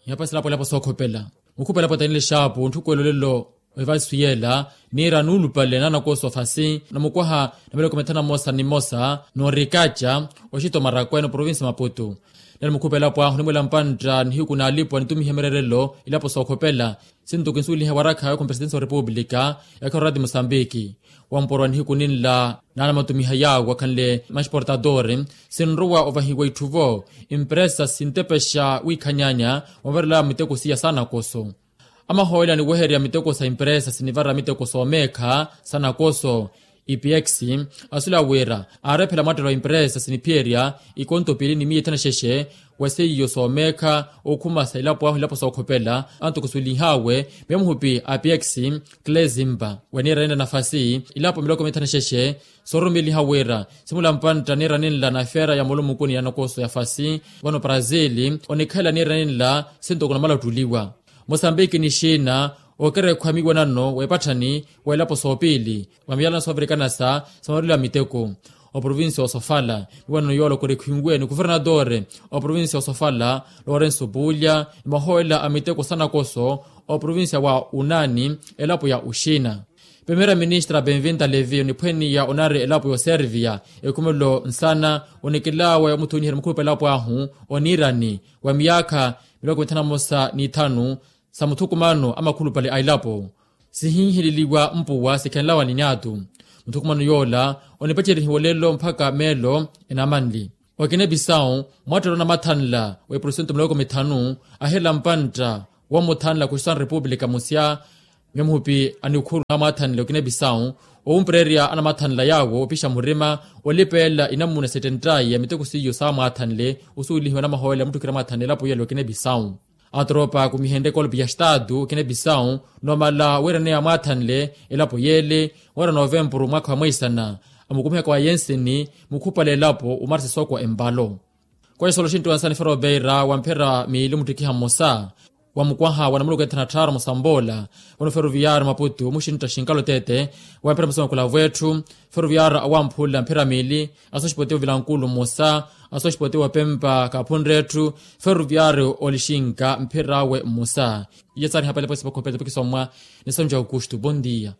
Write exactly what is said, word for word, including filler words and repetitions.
Nihapaselapo elapo sookhopela. Mukhupa elapo tanile xaapu ntthukuwela olelo. Ohivasu yeela niira nuulupale naanakoso fasi namukwaha na miloko mithanu na mmosa ni mmosa noorikaca oxito marakwe noprovinsi maputu. Nelo mukhupa elapo ahu onimwela mpantta nihiku naalipwa nitumihe mirerelo ilapo sookhopela. Sintuku ensuweliha warakha yookhuma presidensi wa repupulika yaakhiwa orati musambiki. Wamporwa nihiku ninla naana matumiha yaawo akhanle maxportadori sinrowa ovahiwa itthuvo empresa sintepexa wiikhanyanya. Wavarela miteko siya saanakoso amahooyela aniweherya miteko sa empresa sinivara miteko soomeekha saanakoso. Ipx asula wira aarephela mwattelo wa empresa siniphiyerya ikonto piili ni miya ithanu na xexe wa seiyo soomeekha okhumasa ilapo ahu ilapo sookhopela. Antukusuwelihaawe miyo muhupi a px klezimba waniira ninla nafasi ilapo miloko mithanu na xexe soorumeliha wira simula mpantta niira ninla na feera ya mulumukuni ya nakoso ya fasi vano brazil onikhalela niira ninla sintuku namala ottuliwa. Mosambiki ni xina okerekhwa miwanano w'epatthani w'elapo soopiili wa miyalana soovirikanasa sa maruliwa miteko. Oprovinsi osofala miwanano yoola okerekhwiwe ni kuvernatore oprovinsi osofala lorenso puulya ni mahoolela a miteko sa nakoso oprovinsi wa unani elapo ya oxina. Primera ministra benvinta levi oniphweniya onari elapo ya oserviya ekhumelo nsana onikilaawe omuthuunyiherya mukhupa elapo ahu oniirani wa miyaakha miloko mithanu na mmosa n'ithanu sa muthukumano a makhulupale a elapo sihinhileliwa mpuwa sikhenlawa ni nyaatu. Muthukumano yoola onipacerihiwa olelo mpakha meelo enamanli okina episau mwattelo anamathanla wa eprosentu miloko mithanu ahirela mpantta womuthanla kuxisana repupulika musya. Miyo muhupi anikhuru namwathanle okina episau owumpererya anamathanla yaawo opixa murima olipeela inamuna settentayi ya miteko siiyo saamwathanle osuwelihiwa namahoolela mutthukira amwathanle elapo yela okina episau. Atropa akumihenrye kolpi ya estatu okina episau nomala wiiraneya amwaathanle elapo yeele wira novempuru mwaakha wa mweisana amukumihaka wa yensini mukhupale elapo omarisa sookwa empalo. Kwesolo xintthu wansani ferobeira wa mphira miili muttikiha mmosa wa mukwaha wa namuluku ethana tthaaru musamboola vano feroviyaari maputu muxintta xinkalo tete wa mphira mmosa makulavwetthu feroviyaari awamphula mphira miili asoxipote wa vilankulu mmosa asoxipote wa pempa kaphunretthu feroviyaari olixinka mphir'awe mmosa. Iye saari hapale pwesi pakhopeta pakisomwa nisonja aukustu bondia.